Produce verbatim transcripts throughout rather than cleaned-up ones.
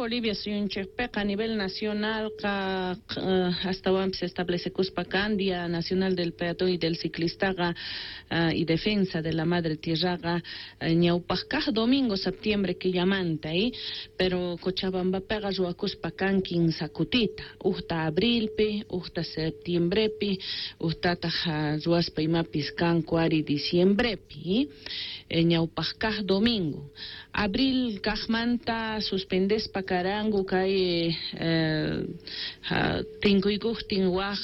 Bolivia suyunchikpiqa a nivel nacional qa astawanpis establesekuspa kan Día Nacional del Peatón y del Ciclistaqa y Defensa de la Madre Tierraqa ñawpaq kaq domingo septiembre killamanta, pero Cochabambapiqa ruwakuspa kan kinsa kutita, ujta abrilpi, ujta septiembrepi, ujtataq ruwaspa imapis kanku ari diciembrepi, ñawpaq kaq domingo. Abril kaqmanta suspendespa karanku kay tinkuykuqtin waj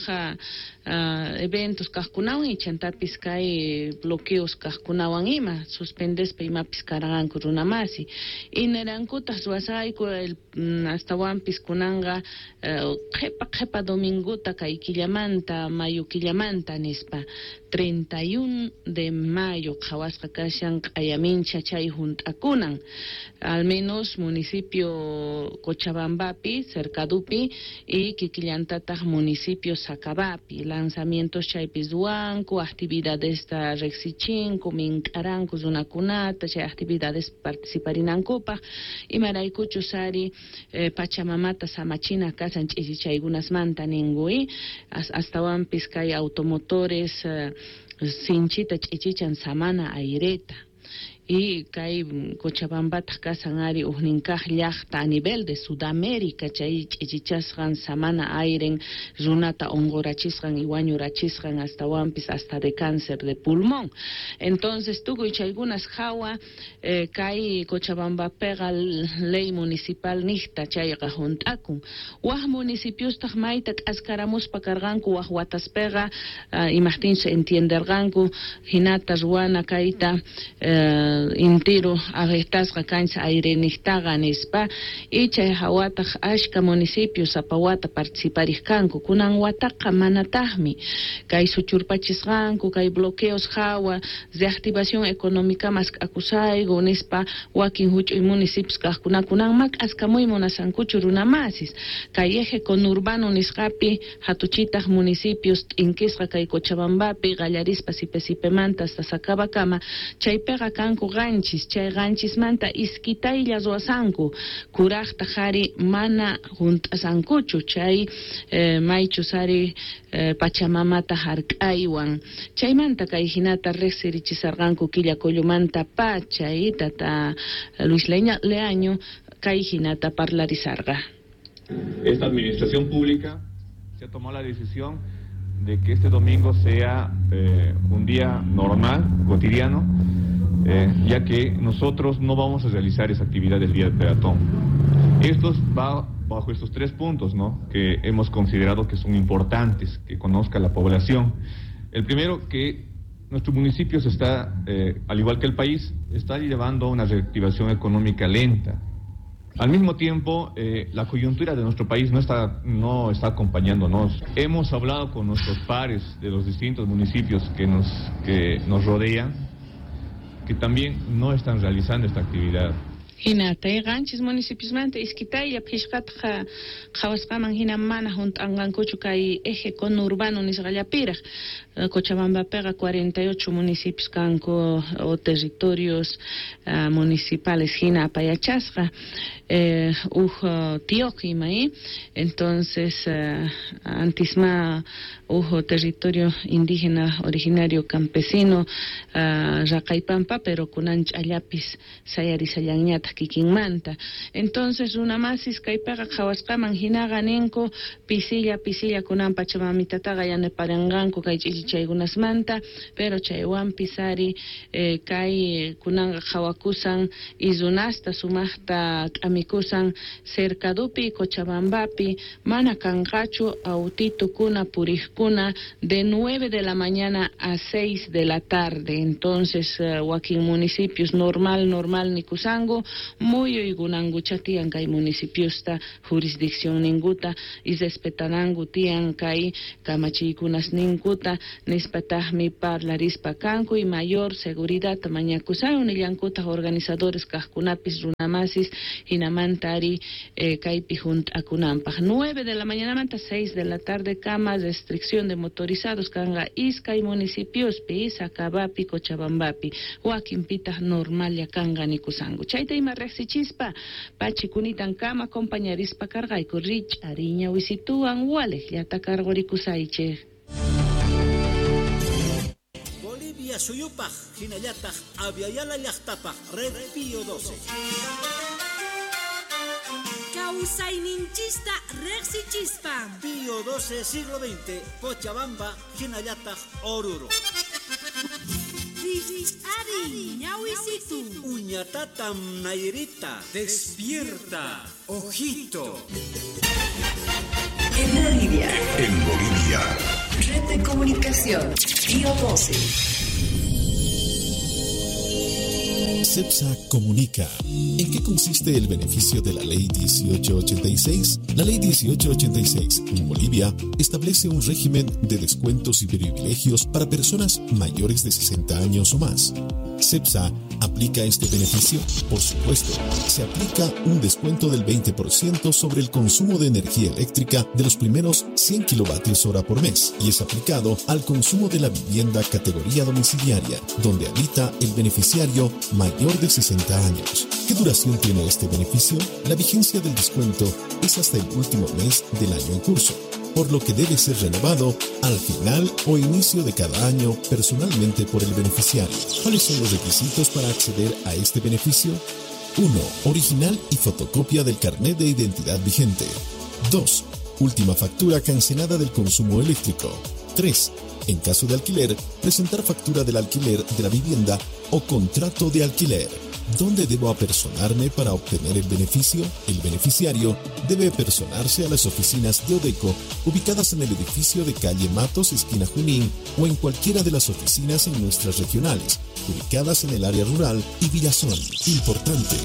eventos kaqkunawan chantapis kay bloqueos kaqkunawan ima suspendespa imapis karqanku runamasi. Inerankutaq ruwasqayku astawanpis kunanqa qhipa qhipa dominguta kay killamanta mayo killamanta nispa treinta y uno de mayo qhawasqa kashan q'ayamincha chay junt'akunan al menos municipio Cochabambapi, Cercadupi y kikillantataq municipio Sacabapi lanzamientos chaypi ruwanku actividadesta riqsichinku mink'aranku runakunata chay actividades participarinankupaq imaraykuchus ari pachamamata samachina kasan ch'ichichaykunasmanta ninku astawanpis kay automotores sinchita ch'ichichan samana aireta y kay Cochabambataq kasan ari ujninkaq llaqta a nivel de Sudamérica chay ch'ichichasqan samana airen runata unqurachisqan y wañurachisqan astawanpis hasta de cáncer de pulmón. Entonces tukuy chaykunas hawa kay Cochabambapiqa ley municipal niqta chayqa junt'akun waj municipiostaq mayta k'askaramuspa karqanku waj wataspiqa imaqtinchus entienderqanku hinata ruwana kayta intiro afectasqa kancha aireniqtaqa nispa y chay hawataq ashka municipios sapa wata participariq kanku kunan wataqa manataqmi kay suchurpachisqanku kay bloqueos hawa reactivación económica mask'akusayku nispa wakin huch'uy municipios kaqkuna kunan ma k'askamuy munasankuchu runamasis kay eje conurbano nisqapi hatuchitaq municipios t'inkisqa kay Cochabambapi qallarispa Sipe-Sipemanta hasta Sacabakama chaypiqa kanku qanchis chay qanchismanta iskitaylla ruwasanku kuraqtaq ari mana junt'asankuchu chay maychus ari pachamamata hark'aywan chaymanta kay hinata riqsirichisarqanku killa kullumanta pacha tata Luis Leaño kay hinata parlarisarqa. Esta administración pública se ha tomado la decisión de que este domingo sea eh, un día normal, cotidiano, eh, ya que nosotros no vamos a realizar esa actividad del Día del Peatón. Esto va bajo estos tres puntos, ¿no?, que hemos considerado que son importantes que conozca la población. El primero, que nuestro municipio se está, eh, al igual que el país, está llevando a una reactivación económica lenta. Al mismo tiempo, eh, la coyuntura de nuestro país no está, no está acompañándonos. Hemos hablado con nuestros pares de los distintos municipios que nos, que nos rodean, que también no están realizando esta actividad. Hinata qanchis municipiosmanta iskitaylla phishqataq qhawasqaman hina mana junt'anqankuchu kay eje conurbano nisqallapiraq Cochabambapiqa cuarenta y ocho municipios kanku o territorios uh, municipales hina apayachasqa eh, uj tioq ima entonces uh, antisma uj territorio indígena originario campesino uh, Raqaypampa pero kunan ch'allapis sayarisallanñataq kikinmanta. Entonces runamasis kaypiqa qhawasqaman hinaqa ninku pisilla pisilla kunan pachamamitataqa yanaparanqanku kay ch'ichichaykunasmanta pero chaywanpis ari eh, kay kunanqa qhawakusan y runasta sumaqta k'amikusan Cercadupi Cochabambapi mana kanqachu autitukuna puriqkuna de nueve de la mañana a seis de la tarde. Entonces uh, wakin municipios normal normal nikusanku muyuykunankucha tiyan kay municipiosta jurisdicción ninkuta y respetananku tiyan kay kamachiykunas ninkuta nispataqmi parlarispa kanku y mayor seguridad mañakusan nillankutaq organizadores kaqkunapis runa runamasis hinamanta ari eh, kaypi hunt'akunanpaq. Nueve de la mañanamanta seis de la tarde kama restricción de motorizados kanqa iskay municipiospi, Sacabapi, Cochabambapi, wakinpitaq normallla kanqa nikusanku. Chayta ima riqsichispa pachikunitan kama compañarispa karqayku rich'ariña wisituwan waliqllata karqurikusaychik. Bolivia suyupaj, hinallataq Aviala llaqtapaj, Red Pío doce. Kawsayninchista riqsichispa. Pío doce, siglo veinte, Cochabamba, hinallataq Oruro. Rich'ari ñawisitu. Uñatatam Nairita. Despierta, ojito. En Bolivia. En Bolivia. Red de comunicación. Pío doce. CEPSA comunica. ¿En qué consiste el beneficio de la Ley dieciocho ochenta y seis? La Ley dieciocho ochenta y seis en Bolivia establece un régimen de descuentos y privilegios para personas mayores de sesenta años o más. ¿CEPSA aplica este beneficio? Por supuesto, se aplica un descuento del veinte por ciento sobre el consumo de energía eléctrica de los primeros cien kilovatios hora por mes y es aplicado al consumo de la vivienda categoría domiciliaria, donde habita el beneficiario mayor de sesenta años. ¿Qué duración tiene este beneficio? La vigencia del descuento es hasta el último mes del año en curso, por lo que debe ser renovado al final o inicio de cada año personalmente por el beneficiario. ¿Cuáles son los requisitos para acceder a este beneficio? uno. Original y fotocopia del carnet de identidad vigente. dos. Última factura cancelada del consumo eléctrico. tres. En caso de alquiler, presentar factura del alquiler de la vivienda o contrato de alquiler. ¿Dónde debo apersonarme para obtener el beneficio? El beneficiario debe apersonarse a las oficinas de Odeco ubicadas en el edificio de calle Matos, esquina Junín, o en cualquiera de las oficinas en nuestras regionales, ubicadas en el área rural y Villazón. Importante,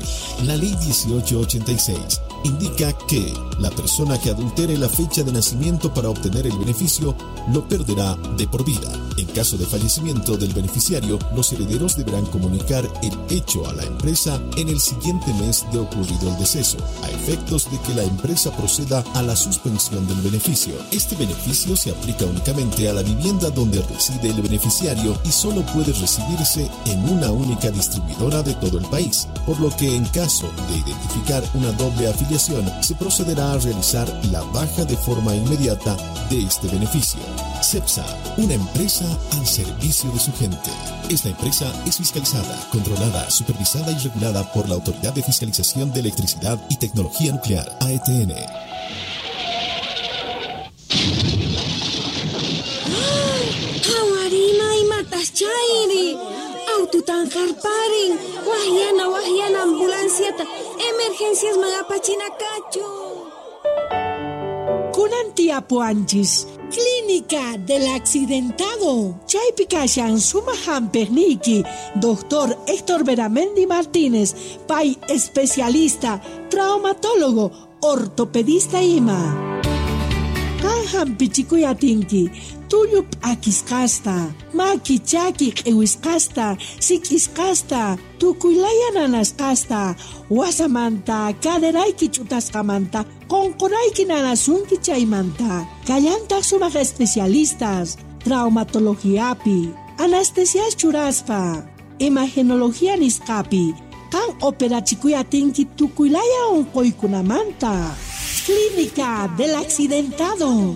la Ley dieciocho ochenta y seis indica que la persona que adultere la fecha de nacimiento para obtener el beneficio lo perderá de por vida. En caso de fallecimiento del beneficiario, los herederos deberán comunicar el hecho a la empresa en el siguiente mes de ocurrido el deceso, a efectos de que la empresa proceda a la suspensión del beneficio. Este beneficio se aplica únicamente a la vivienda donde reside el beneficiario y solo puede recibirse en una única distribuidora de todo el país, por lo que en caso de identificar una doble afiliación, se procederá a realizar la baja de forma inmediata de este beneficio. CEPSA, una empresa al servicio de su gente. Esta empresa es fiscalizada, controlada, supervisada y regulada por la Autoridad de Fiscalización de Electricidad y Tecnología Nuclear, A E T N. ¡Hawarina y mataschairi! Aututan jarparin, wahyana wahyana ambulanciata, emergencias magapachinakachu. Kunan tiapuanchis, Clínica del Accidentado. Chaypi kashan sumaq hampiqniyki, doctor Héctor Beramendi Martínez, pay especialista, traumatólogo, ortopedista ima. Qan hampichikuy atinki, tullu p'akisqasta, maki chaki q'iwisqasta, sik'isqasta, tukuylaya nanasqasta, wasamanta, caderayki ch'utasqamanta, qunqurayki nanasunki chaymanta. Kallantaq sumaq especialistas, traumatologiapi, anestesias churaspa, imagenología nisqapi, qan operachikuy atinki tukuylaya unquykunamanta. Clínica del Accidentado.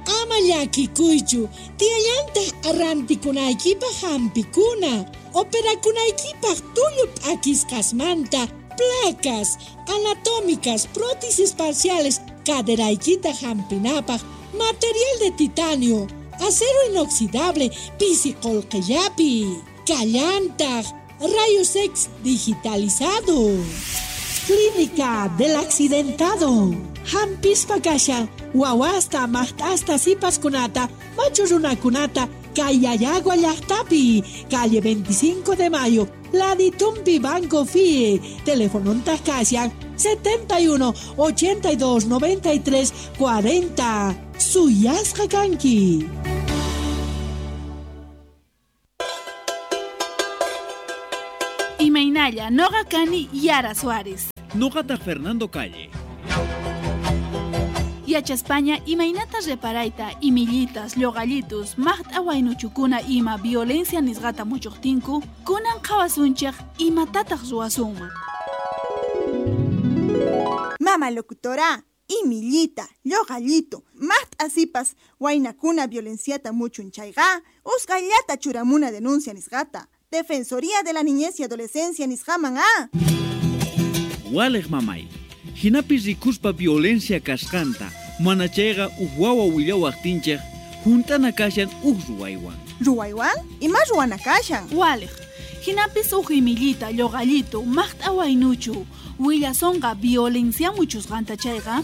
Ama llakikuychu, tiyallantaq arrantikunaykipaq hampikuna, operakunaykipaq tullu p'akisqasmanta, placas anatómicas, prótesis parciales, caderaykita hampinapaq, material de titanio, acero inoxidable, pisi qullqillapi, kallantaq, rayos X digitalizado. Clínica del Accidentado. Hampispa kashan, wawasta, maqt'asta, sipaskunata, machu runakunata, Kayayagua llaqtapi, calle veinticinco de Mayo, Laditumpi Banco F I E, teléfono kashan, setenta y uno, ochenta y dos, noventa y tres, cuarenta. Suyasqa kanki. Imaynalla, noqa kani Yara Suárez. Noqataq Fernando Calle. Yachaspaña imaynata reparayta imillitas, lloqallitus, maqt'a waynuchukuna ima violencia nisqata muchuqtinku, kunan qhawasunchik imatataq ruwasunman. Mama locutora, imillita, lloqallito, maqt'a sipas, waynakuna violenciata muchun chayqa, usqhayllata churamuna denuncia nisqata. Defensoría de la Niñez y Adolescencia nisqaman a. Waliq mamay, hinapis rikuspa violencia kasqanta, mana chayqa uj wawa willawaqtinchik, juntana kashan uj ruwaywan. Ruwaywan? Ima ruwana kashan? Waliq, hinapis uj imillita, lloqallito, maqt'a waynuchu, willasonqa violencia muchusqanta chayqa,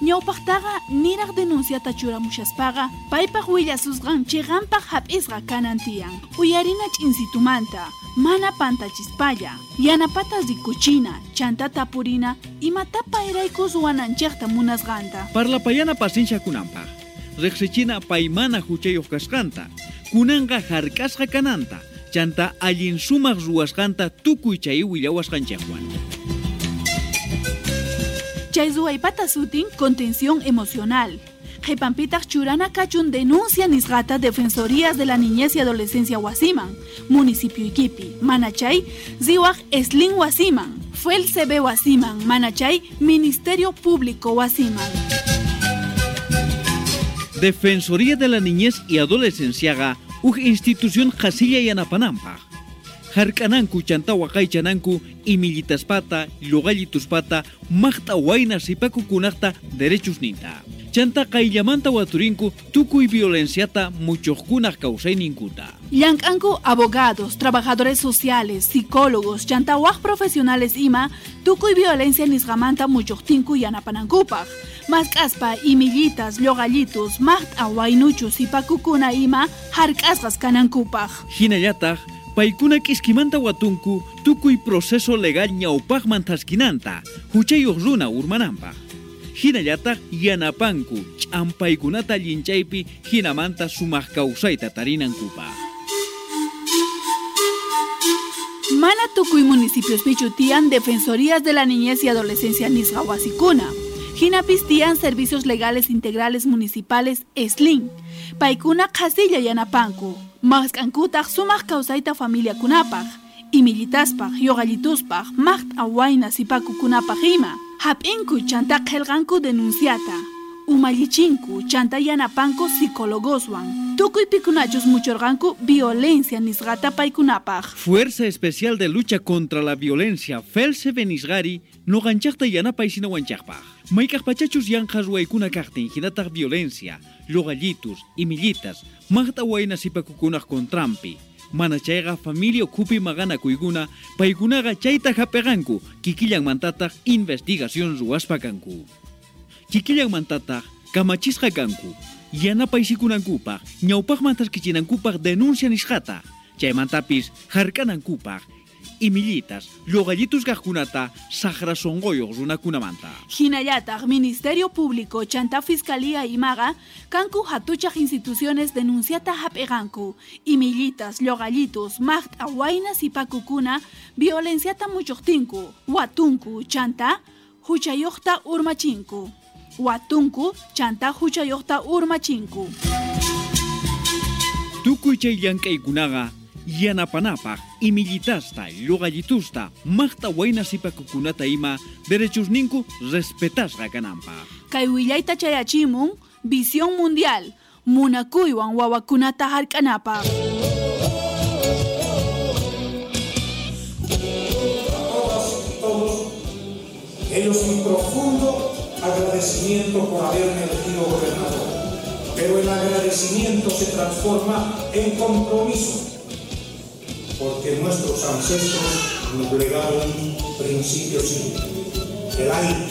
ñawpaqtaqa niraq denunciata churamushaspaqa, paypaq willasusqan chiqanpaq hap'isqa kanan tiyan. Uyarina ch'insitumanta, mana pantachispalla, yanapata rikuchina, chanta tapurina, imatapa erayku ruwananchikta munasqanta. Parlapayana paciencia kunanpaq, riqsichina paymana huchayuq kasqanta, kunanqa hark'asqa kananta, chanta allin sumaq ruwasqanta tukuy chay willawasqanchikwan. Chay ruwaypata sutin contención emocional. Qhipanpitaq churana kachun denuncia nisqata Defensorías de la Niñez y Adolescencia wasiman, municipio ikipi, manachay riwaq Eslin wasiman, F E L C B wasiman, manachay Ministerio Público wasiman. Defensoría de la Niñez y Adolescenciaqa uj institución qhasilla yanapananpaq. Hark'ananku chanta waqaychananku imillitaspata, lluqallituspata, maqt'a wayna sipakukunaqta derechusninta. Chanta qayllamanta waturinku tukuy violenciata muchuqkunaq kawsayninkuta. Llank'anku abogados, trabajadores sociales, psicólogos, chanta waj profesionales ima, tukuy violencia nisqamanta muchuqtinku yanapanankupaq. Mask'aspa imillitas, lluqallitus, maqt'a waynuchu sipakukuna ima hark'asqas kanankupaq. Hinallataq paykuna k'iskimanta watunku tukuy proceso legal ñawpaqman thaskinanta, huchayuq runa urmananpaq. Hinallataq yanapanku ch'ampaykunata llinchaypi hinamanta sumaq kawsayta tarinankupaq. Mana tukuy municipiospichu tiyan Defensorías de la Niñez y Adolescencia nisqa wasikuna. Hinapis tiyan Servicios Legales Integrales Municipales Eslin. Paykuna qhasilla yanapanku. Mask'ankutaq sumaq kawsayta familiakunapaq, imillitaspaq, lluqallituspaq, maqt'a wayna sipakukunapaq ima. Hap'inku chanta qillqanku denunciata. Umallichinku chanta yanapanku psicólogoswan. Tukuy pikunachus muchurqanku violencia nisqata paykunapaq. Fuerza Especial de Lucha contra la Violencia, F E L C B nisqari, nuqanchaqta yanapaysinawantaqpaq. Mayk'aq pachachus yanqa ruwaykuna kaqtin hinataq violencia, lluqallitus, imillitas, maqt'a wayna sipakukunaq contranpi. Mana chayqa familia ukhupi maqanakuykuna, paykunaqa chayta hap'iqanku, kikillanmantataq investigación ruwaspa kanku. Kikillanmantataq kamachisqa kanku, yanapaysikunankupaq, ñawpaqman thaskichinankupaq denuncia nisqata, chaymantapis hark'anankupaq, imillitas, lluqallitus kaqkunata saqra sunquyuq runakunamanta. Hinallataq Ministerio Público chanta Fiscalía imaqa kanku hatuchaq instituciones denunciata hap'iqanku, imillitas, lluqallitus, maqt'a wayna sipakukuna violenciata muchuqtinku, watunku chanta huchayuqta urmachinku. Watunku chanta huchayuqta urmachinku. Tukuy chay llank'aykunaqa yanapanapaq imillitasta, lluqallitusta, maqt'a wayna sipakukunata ima derechusninku respetasqa kananpaq. Kay willayta chayachimun Visión Mundial, munakuywan wawakunata hark'anapaq. Todas y todos, ellos mi profundo agradecimiento por haberme elegido gobernador. Pero el agradecimiento se transforma en compromiso, porque nuestros ancestros nos legaron un principio simple, el aire,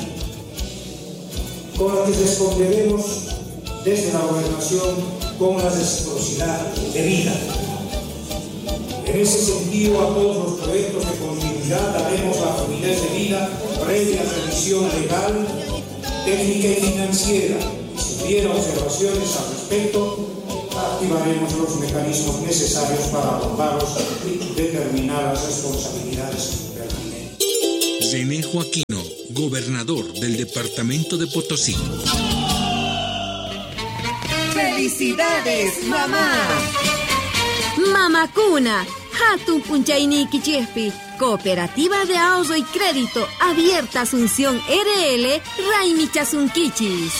con el que responderemos desde la gobernación con la reciprocidad debida. En ese sentido, a todos los proyectos de continuidad daremos la fluidez debida previa revisión legal, técnica y financiera. Y si hubiera observaciones al respecto, activaremos los mecanismos necesarios para abordarlos y determinar las responsabilidades pertinentes. René Joaquino, gobernador del departamento de Potosí. ¡Felicidades, mamá! Mamakuna, hatun p'unchaynikichikpi, Cooperativa de Ahorro y Crédito Abierta Asunción R L, Raymichasunkichis.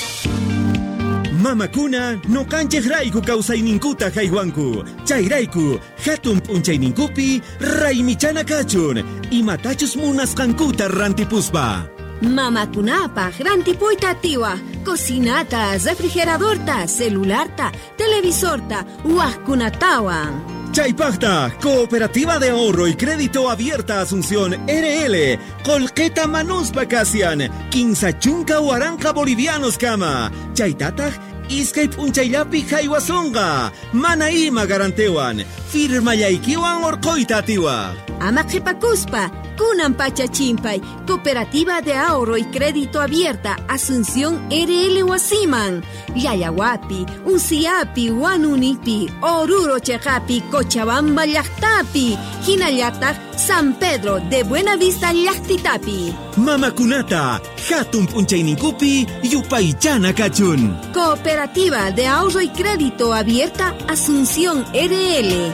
Mamakuna noqanchej rayku kawsayninkuta haywanku. Chayrayku hatun p'unchayninkupi raymichana kachun. Imatachus munasqankuta rantipuspa. Mamakunapaj rantipuyta atiwa, cocinata, refrigeradorta, celularta, televisorta, wajkunatawan. Chaypajta, Cooperativa de Ahorro y Crédito Abierta Asunción R L, Colqueta Manuspa Kasian, Quinsa Chunka Huaranca Bolivianos Kama, Chaytataj, Iskay p'unchayllapi haywasonqa, mana ima garantewan, firmayaykiwan orqoyta atiwa. Ama qhipakuspa, kunan pacha chimpay, Cooperativa de Ahorro y Crédito Abierta Asunción R L wasiman, Llallawapi, Unciapi, Huanunipi, Oruro cheqapi, Cochabamba llaqtapi, hinallataq San Pedro de Buenavista llaqtitapi. Mamakunata, hatun p'unchayninkupi, yupaychana kachun. Cooperativa de Ahorro y Crédito Abierta Asunción R L.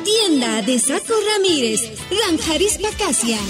Tienda de Saco Ramírez, Ranjarispa Kasian.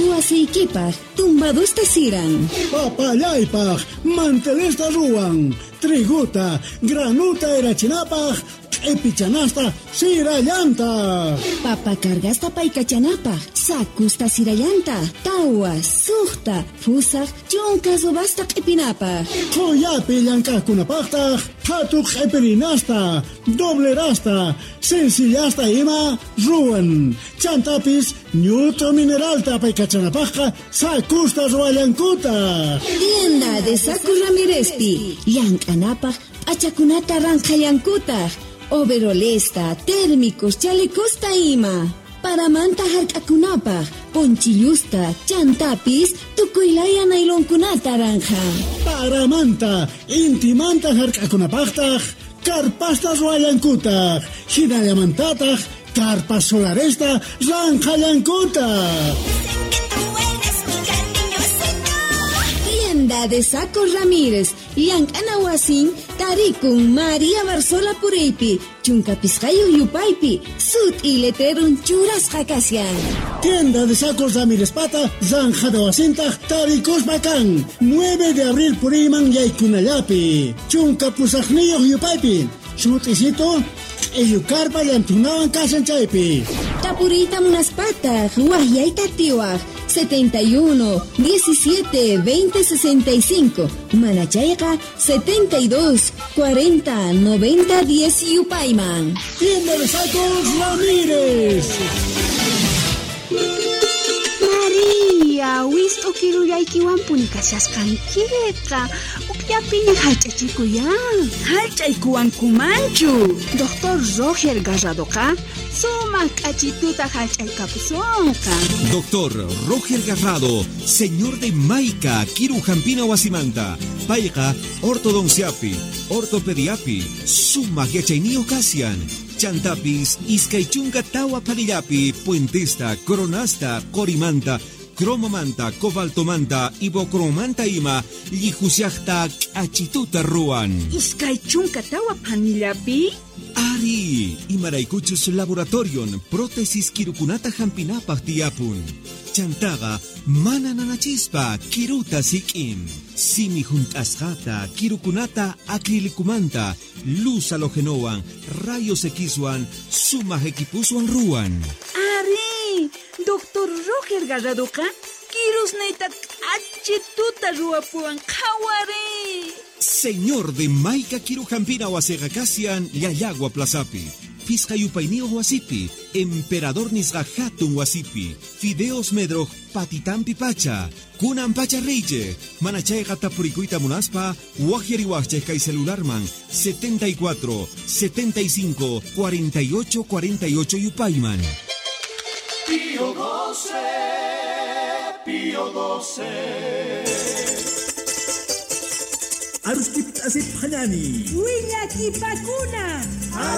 Wasiykipaj, tumbadusta siran. Papallaypaj, mantelesta ruwan. Triguta, granuta erachinapaj, q'ipichanasta sirallanta. Papa cargasta paykachanapaj, sakusta sirallanta, tawa, suqta, fusaj, chunka subasta q'ipinapaj. Qhuyapi llank'aqkunapaqtaq, qhatu q'ipirinasta, doblerasta, sencillasta ima ruwan. Chantapis ñut'u mineralta paykachanapajqa sakusta ruwallankutaq. Tienda de Saco Ramírezpi, llank'anapaj p'achakunata ranqhallankutaq. Overolesta, térmicos, chalecosta ima. Paramanta hark'akunapaj, ponchillusta, chantapis, tukuylaya nailonkunata ranja. Paramanta, intimanta hark'akunapajtaj, karpasta ruwallankutaq, hinallamantataq, karpas solaresta ranqhallankutaq. Tienda de Saco Ramírez, llank'ana wasin, tarikun María Barzola Puriypi, chunka pisqayuq yupaypi, sut'i letrerun churasqa kashan. Tienda de Sacos Ramírez pata, zanjada wasintaq, tarikuspa kan, nueve de abril puriyman yaykunallapi, chunka pusaqniyuq yupaypi, sut'isito, q'illukarpa llantunawan kashan chaypi. Tapuriyta munaspataq, waqyayta atiwaq, setenta y uno, diecisiete, veinte, sesenta y cinco, Manachayqa, setenta y dos, cuarenta, noventa, diez yupayman. Tienda de Sacos Ramírez. María, wist'u kirullaykiwanpuni kashasqankiqa, ukllapiña hallch'achikuyan. Hallch'aykuwankumanchu. Doctor Roger Garradoqa sumaq k'achituta hallch'aykapusunqa. Doctor Roger Garrado, señor de Maica, Kirujampina wasimanta, payqa ortodonciapi, ortopediapi, sumaq yachayniyuq kashan. Chantapis, iskay chunka tawa panillapi, puentesta, coronasta, qorimanta, cromomanta, cobaltomanta, ibocromanta ima, llijusiaqta k'achituta ruwan. Iskay chunka tawa panillapi? Ari, imaraykuchus laboratorion, prótesis kirukunata hampinapaq tiyapun. Chantaqa mana nanachispa kiruta sik'in. Simi junt'asqata, kirukunata acrilicumanta, luz halogenowan, rayos Xwan, sumaq equipuswan ruwan. Ari, doctor Roger Garradoqa kirusniyta k'achituta ruwapuwan qhawari. Señor de Maica Kirujampina wasiqa kashan Llallagua Plazapi, Pisqa yupayniyuq wasipi, Emperador nisqa hatun wasipi, Fideos Medroj patitampi pacha, kunan pacha riychej, mana chayqa tapurikuyta munaspa, waqyariwaqchej kay celularman setenta y cuatro, setenta y cinco, cuarenta y ocho, cuarenta y ocho yupayman. Pío doce, Pío doce. Arushkip asip hanani. Willakipakuna.